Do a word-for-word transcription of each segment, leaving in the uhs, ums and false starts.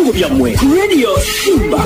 Ebirango byammwe ku Radio Simba.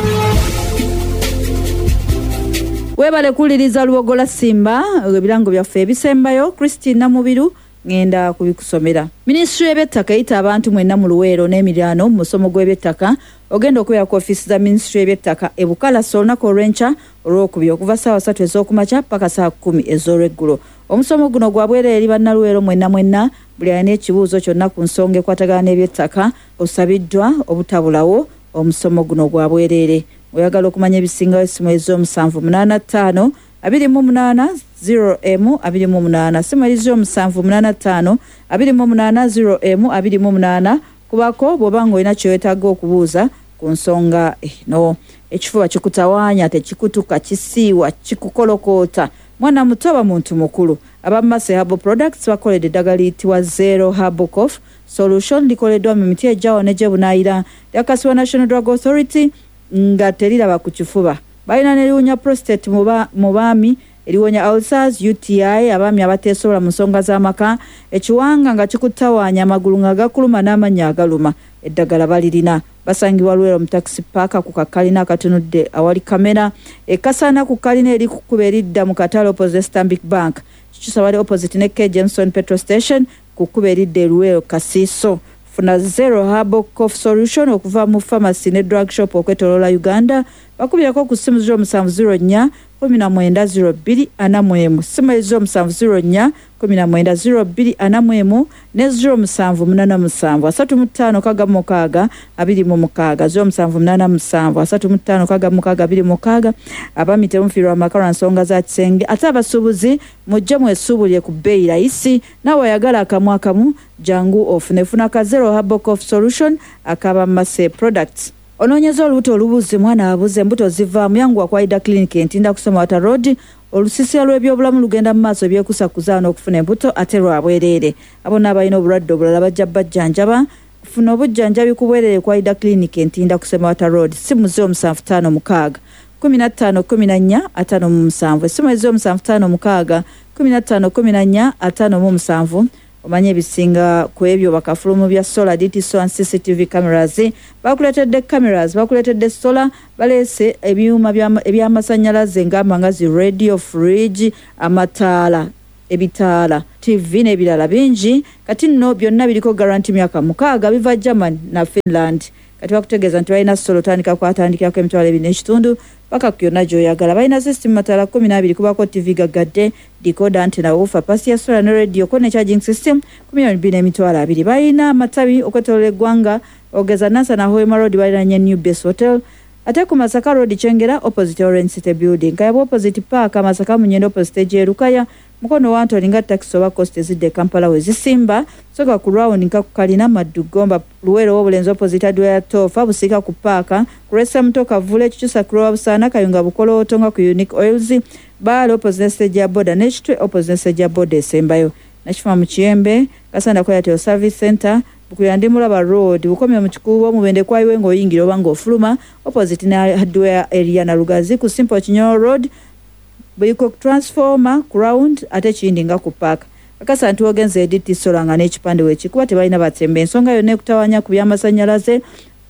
Webale kuwuliriza Lubogola Simba, ebirango byaffe ebisembayo. Christine Namubiru ngenda kubikusomera. Minisitule y'ebyettaka eyita abantu mwenna mu Luweero n'emiriraano mu musomo gw'ebyettaka ogenda okubeera ku ofiisi za minisitule y'ebyettaka e Bukalasa olunaku olw'enkya olwokubiri okuva ssaawa ssatu ez'okumakya paka ssaawa kkumi ez'olweggulo. Omusomo guno gwa bwereere eri bannaluweero mwenna mwenna. Buli alina ekibuuzo kyonna ku nsonga ekwatagana n'ebyettaka osabiddwa obutabulawo. Omusomo guno gwa bwereere. Oyagala okumanya ebisingawo, essimu ez'omusanvu munaana ttaano abiri mu munaana zero emu abiri mu munaana. Ssimu eri zero musanvu munaana ttaano abiri mu munaana zero emu abiri mu munaana. Kubako bw'oba ng'olina kye weetaaga okubuuza ku nsonga eno. Ekifuba kikutawaanya, tekikutuka, kisiiwa, kikukolokoota, mwana muto oba muntu mukulu, aba Mase Herbal Products bakoledde eddagala liyitibwa Zero Herbal Cough Solution. Likoleddwa mu miti ejjawo ne gyebunaayira, lyakasibwa National Drug Authority nga teriraba ku kifuba. Balina neriwonya prostate mu baami, eriwonya ulcers, U T I, abaami abateesobola mu nsonga z'amaka, ekiwanga nga kikutawaanya, amagulu nga gakuluma n'amannya agaluma, eddagala balirina. Basangibwa Lwero mu taxi park ku kakalina akatunudde awali kamera ekasaana ku kalina eri ku kkubo eridda mu katale opposite Stanbic Bank. Kikyusa bali opposite ne K Jameson petrol station ku kkubo eridda eruweero Kasiiso. Funa Zero Herbal Cough Solution okuva mu pharmacy ne drug shop okwetoloola Uganda. Bakubirako ku ssimu zero musanvu zero nnya kumi na mwenda zero bbiri ana mu emu. Ssimu eri zero musanvu zero nnya kumi na mwenda zero bbiri ana mu emu ne zero musanvu munaana musanvu asatu mu ttaano kaga mukaaga abiri mu mukaaga, zero musanvu munaana musanvu asatu mu ttaano kaga mukaaga abiri mu mukaaga. Abaami, temufiirwa amaka lwa nsonga za kisenge, ate abasuubuzi mujje mwesuubulire ku bbeeyi layisi. Naawe ayagala akamu akamu, jangu ofune. Funa ka Zero Herbal Cough Solution akaba Mase Products. Onoonyeza olubuto olubuzi, mwana abuze, embuto zivaamu, yanguwa ku Aida Clinic Entinda kusoma Wata Road. Olusisira lw'ebyobulamu lugenda mu maaso ebyekusa kuzaana okufuna embuto, ate lwa bwereere. Abo n'abalina obulwadde obulala bajja bajjanjaba. Funa obujjanjabi ku bwereere ku Aida Clinic Entinda kusema Wata Road. Simu zero musanvu ttaano mukaaga kumi na ttaano kumi na nnya ataano mu musanvu. Essimu eri zero musanvu ttaano mukaaga kumi na ttaano kumi na nnya ataano mu musanvu. Omanye ebisinga ku ebyo. Bakafulumu bya solar, D T and C C T V cameras bakuleetedde, cameras bakuleetedde, solar baleese, ebyuma ebyamasannyalaze ngamba nga zi radio, fridge, amataala, ebitaala, T V n'ebirala bingi. Kati nno byonna biriko guarantee myaka mukaaga, biva German na Finland. Kati bakutegeeza nti balina solar otandika kwatandikirako emitwalo ebiri n'ekitundu paka ku yonna gy'oyagala. Balina system mataala kumi n'abiri, kubako T V gagadde, decoder, antenna, woofer, pasi ya solar ne radio ko ne charging system ku miliyoni bbiri n'emitwalo abiri. Balina amatabi okwetoloola eggwanga, ogeza Nansana Hoima Road baliranye New Base Hotel, ate ku Masaka Road Kyengera opposite Orange City Building, Kayabwa opposite Park, Masaka Munyendo opposite Jerukaya, Mukono Wantoni nga taxi oba coast ezidde e Kampala we zisimba. Soka ku round nka ku kalina Maddu Gomba, Luweero w'Obulenzi opposite Adwaya Tofa, Busiika ku paaka, ku Resa Mutoka Vule, Kikyusa ku Lwa Busaana, Kayunga Bukolooto nga ku Unique Oils, Baale opposite stage ya boda n'Ekitwe opposite stage ya boda esembayo. Nakifuma mu Kiyembe, Kasanda ku Airtel Service Center, Bukulira Ndimulaba Road, Bukomye mu Kikuubo, Mubende kwayiwe ng'oyingira oba ng'ofuluma opposite ne hardware area, na Lugazi ku Simple Kinyoro Road, Buyiko transformer ku round, ate kiyindi nga ku park. Akasa nti wogenze e D T Solar nga n'ekipande weekikuba, tebalina batembe. Ensonga yonna ekutawanya ku byamasannyalaze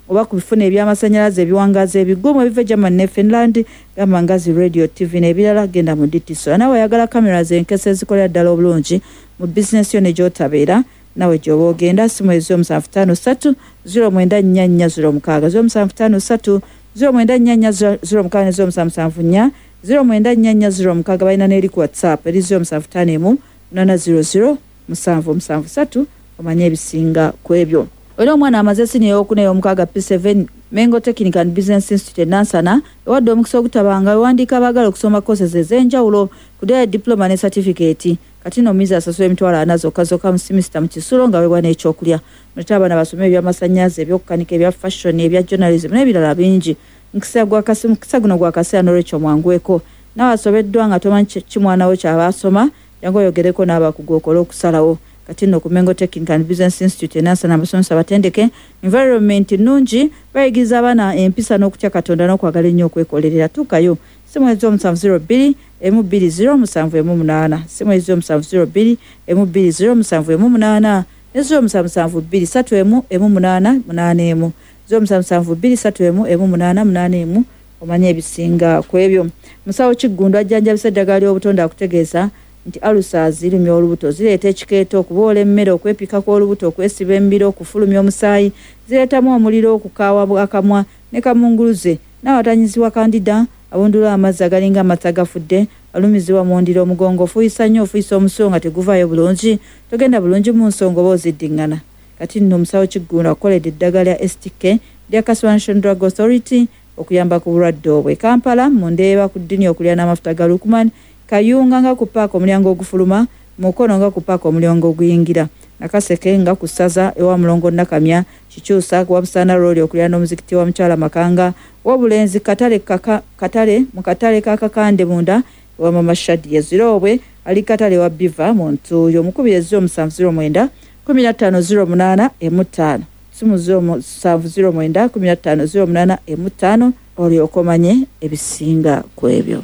oba ku bifuna ebyamasannyalaze ebiwangaazi ebigumu ebiva German ne Finland, gamba nga zi radio, T V n'ebirala, genda mu D T Solar. Nawe oyagala cameras enkese ezikolera ddala obulungi mu bizinesi yo ne gy'otabeera, nawe gy'oba ogenda. Simu ez'omusanvu ttaano ssatu zero mwenda nnya nnya zero mukaaga, zero musanvu ttaano ssatu zero mwenda nnya nnya zero mukaaga ne zero musanvu musanvu nnya zero mwenda nnya nnya zero mukaaga. Balina n'eri ku WhatsApp eri zero musanvu ttaano emu munaana zero zero musanvu musanvu ssatu. Omanye ebisinga ku ebyo. Olina omwana amaze siniya eyokuna, ey'omukaaga, P seven, Mengo Technical and Business Institute e Nansana ewadde omukisa ogutabanga wewandiika abaagala okusoma courses ez'enjawulo ku diploma ne certificate. Kati nno omuyizi asasula emitwalo ana zokka zokka mu semester mu kisulo nga weebwa n'ekyokulya. Mulete abaana basome ebyamasannyalaze, ebyokukanika, ebya fashion, ebya journalism n'ebirala bingi. Mukisa guno gwa kaseera, n'olwekyo mwangweko. Naawe asobeddwa nga tomanyi ki mwana wo kyaba asoma, jangu oyogereko n'abakugu okole okusalawo. Kati nno ku Mengo Technical and Business Institute e Nansana abasomesa batendeke, environment nnungi, bayigiriza abaana empisa n'okutya Katonda n'okwagala ennyo okwekolerera. Tuukayo. Simu ez'omusanvu zero bbiri emu bbiri zero musanvu emu munaana, simu ez'omusanvu zero bbiri emu bbiri zero musanvu emu munaana ne zero musanvu musanvu bbiri ssatu emu emu munaana munaana emu. zero musanvu musanvu bbiri ssatu emu emu munaana munaana emu omanye ebisinga ku ebyo. Musawo Kiggundu ajjanjabisa eddagala ly'obutonde akutegeeza nti alusa zirumya olubuto, zireeta ekikeeto, okuboola emmere, okwepika kw'olubuto, okwesiba embiro, okufulumya omusaayi, zireetamu omuliro, okukaawa akamwa ne kamunguluze, n'awatanyizibwa kandida, abundula amazzi agalinga amata agafudde, alumizibwa mu ndiro, omugongo ofuuyisa nnyo, ofuuyisa omusulo nga teguvaayo bulungi, togenda bulungi mu nsonga oba oziddiŋŋana. Kati nno omusawo Kiggundu akukoledde eddagala lya S T K lya National Drug Authority okuyamba ku bulwadde obwo. E Kampala mu Ndeeba ku ddini okulya n'amafuta ga Lukman, Kayunga nga ku paaka omulyango ogufuluma, Mukono nga ku paaka omulyango oguyingira, Nakaseke nga ku ssaza ewa Mulongo Nakamya, Kikyusa ku Wabusaana Road okulya n'omuzikiti wa Mukyala Makanga, Wabulenzi Katale kaka, Katale mu katale ka Kakande munda wa Mama Shadia Zirobwe ali katale wa Biva mu Ntuuyo. Omukubiri zero musanvu zero mwenda kumi na ttaano zero munaana emu ttaano, simu zero musanvu zero mwenda kumi na ttaano zero munaana emu ttaano, olyoke omanye ebisinga ku ebyo.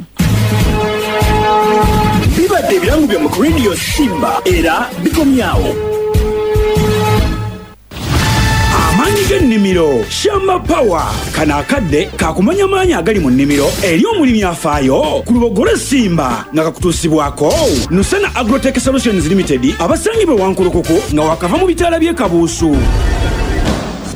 Bibadde ebirango bya ku Radio Simba era bikomyawo. Amaanyi g'ennimiro Shamba Power. Kano akadde kakumanya maanyi agali mu nnimiro eri omulimi afaayo ku Lubogole Simba nga kakutuusibwako Nusana Agrotech Solutions Limited abasangibwa Wankulukuku nga wakava mu bitaala by'e Kabuusu.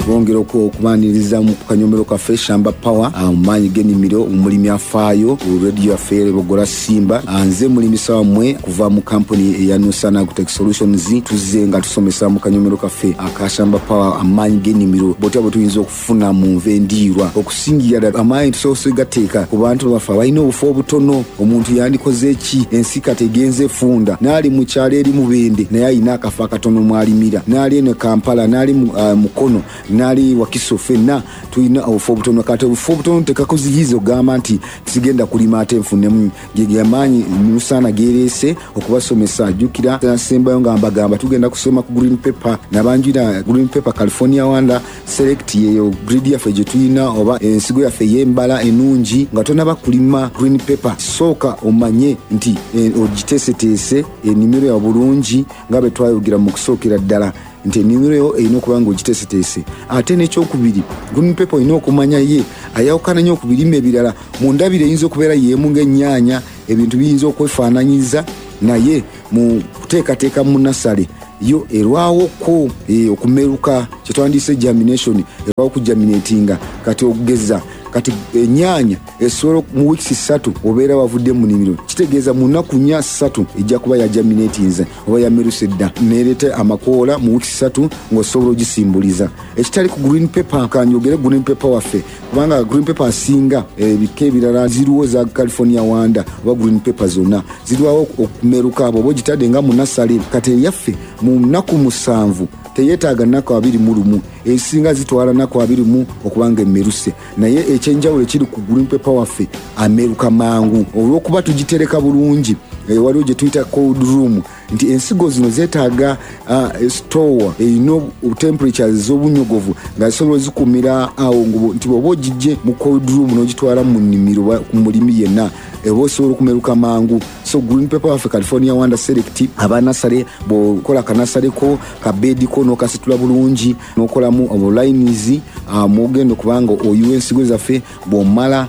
Bongera okubaniriza mu kanyomero kaffe Shamba Power, amaanyi g'ennimiro, omulimi afaayo ku radio yaffe Lubogole Simba. Nze mulimisa wammwe kuva mu kampuni eya Nusana Agrotech Solutions. Tuzze nga tusomesa mu kanyomero kaffe aka Shamba Power amaanyi g'ennimiro, botya bwe tuyinza okufuna mu nva endiirwa. Okusingira ddala amaanyi tusoose gateeka ku bantu baffe abalina obufo obutono. Omuntu yandikoze ki? Ensi kati egenze efunda, n'ali mu kyalo eri Mubende naye alina akafo akatono mw'alimira, n'ali eno Kampala, n'ali Mukono, n'ali Wakiso, ffenna tulina obufo obutono. Kati obufo obutono tekakuziyiza ogamba nti sigenda kulima ate nfunemu. Ge amaanyi Nusana geereese okubasomesa. Jjukira nasembayo nga mbagamba tugenda kusoma ku green pepper, nabanjira green pepper California Wanda Select, yeyo breed yaffe gye tulina oba ensigo yaffe ey'embala ennungi. Nga tonaba kulima green pepper, sooka omanye nti ogiteeseteese ennimiro ya bulungi nga bwe twayogera mu kusookera ddala nti ennimiro yo erina okuba nga ogiteeseteese. Ate n'ekyokubiri, green pepper olina okumanya ye ayawukana nnyo ku birime ebirala. Mu ndabira eyinza okubeera y'emu ng'ennyaanya, ebintu biyinza okwefaananyiza, naye mu kuteekateeka mu nasale yo erwawoko e, okumeruka kye twandiyise germination, erwawo okugerminatinga. Kati okugeza kati ennyaanya esobola mu wiiki ssatu obeera wavudde mu nnimiro, kitegeeza mu nnaku nnya ssatu ejja kuba yagerminatinze oba yameruse dda, neereeta amakoola mu wiiki ssatu ng'osobola ogisimbuliza. Ekitali ku green pepper, kanjogere green pepper waffe, kubanga green pepper asinga ebika ebirala ziriwo za California Wanda oba green pepper zonna zirwawo okumeruka bw'oba ogitadde nga mu nasale. Kati eyaffe mu nnaku musanvu teyeetaaga nnaku abiri mu lumu, esinga zitwala nnaku abiri mu okubanga emmeruse. Naye ekyenjawulo ekiri ku green pepper waffe ameruka mangu olw'okuba tugitereka bulungi. Waliwo gye tuyita cold room, nti ensigo zino zeetaaga uh, store erina temperature ez'obunyogovu nga zisobola ozikumira awo, nti bw'oba ogijje mu cold room n'ogitwala mu nnimiro ku mulimi yenna eba osobola okumeruka mangu. So green pepper waffe California Wanda Select, abanasale bw'okola kanasaleko kabeediko n'okasitula bulungi n'okolamu obulines mwogenda okubanga oyiwa ensigo zaffe. Bw'omala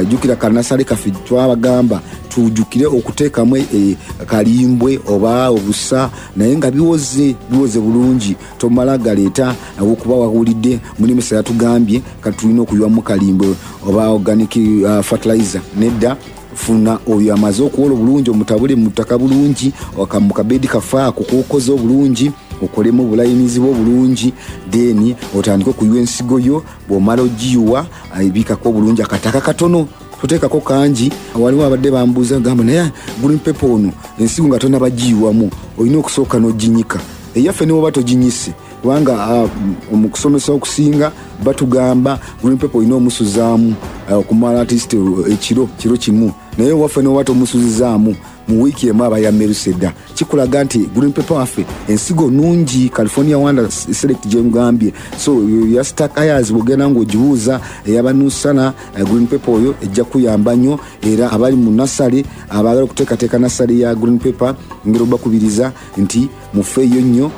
jjukira kanasale kaffe twabagamba tujjukire okuteekamu e, kalimbwe oba obusa, naye nga biwoze biwoze bulungi, tomala galeeta okuba wawulidde mulimisa yatugambye kati tulina okuyiwamu kalimbwe oba organic uh, fertilizer. Nedda, funa oyo amaze okuwola obulungi, omutabule mu ttaka bulungi, mu kabeedi kaffe ako k'okoze obulungi, okolemu obulayinizi bwo obulungi, then otandike okuyiwa ensigo yo. Bw'omala ogiyiwa ebikako obulungi akataka katono, toteekako kangi. Waliwo abadde bambuuza gamba naye green pepper ono ensigo nga tonaba giyiwamu olina okusooka n'oginyika. Eyaffe ne bw'oba toginyise, kubanga mu kusomesa okusinga batugamba green pepper olina omusuzaamu okumala at least ekiro kiro kimu, naye waffe ne bw'oba tomusuzizaamu mu wiiki emu aba yameruse dda. Kikulaga nti green pepper waffe ensigo nnungi, California Wanda Select gye ngambye. So ya Stark Ayers bw'ogenda ng'ogibuuza eyaba Nusana green pepper oyo ejja kuyamba nnyo. Era abali mu nasale abaagala okuteekateeka nasale ya green pepper, ngeri obakubiriza nti mufeeyo nnyo.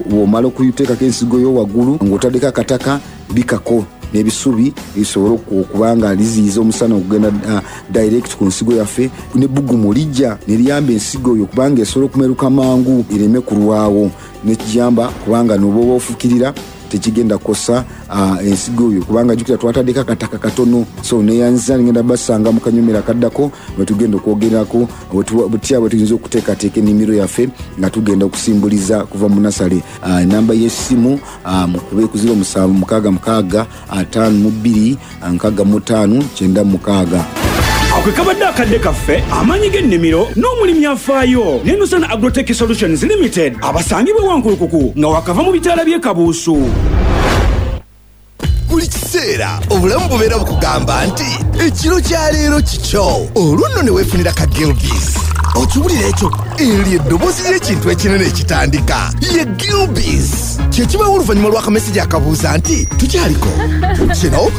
Bw'omala okuteekako ensigo yo waggulu ng'otaddeko akataka, Bikako n'ebisubi bisobole okuba nga liziyiza omusana okugenda uh, direct ku nsigo yaffe. Nebbugumu lijja ne liyamba ensigo oyo kubanga esobola okumeruka mangu, ereme kulwawo, nekiyamba kubanga noba ofukirira tekigenda kukosa uh, ensigo oyo, kubanga jjukira twataddeko akataka katono. So neyanziza, ngenda basanga mu kanyomero akaddako bwe tugenda okwogerako butya bwe tuyinza okuteekateeka ennimiro yaffe nga tugenda okusimbuliza kuva mu nasale. Enamba uh, y'essimu uh, mukube ku zero musanvu mukaaga mukaaga ataano mu bbiri nkaaga mu ttaano kyenda mu mukaaga. Ako kabadde akadde kaffe, amaanyi g'ennimiro n'omulimi afaayo ne Nusana Agrotech Solutions Limited, abasangibwa Wankulukuku nga wakava mu bitaala by'e Kabuusu. Buli kiseera obulamu bubeera bukugamba nti ekiro kya leero kikyo, olwo nno ne weefunira ka Gilbis. Okiwulira ekyo? Eryo eddoboozi ly'ekintu ekinene ekitandika ye Gilbis. Kyekibawo oluvannyuma lw'akamesegi akabuuza nti tukyaliko kino.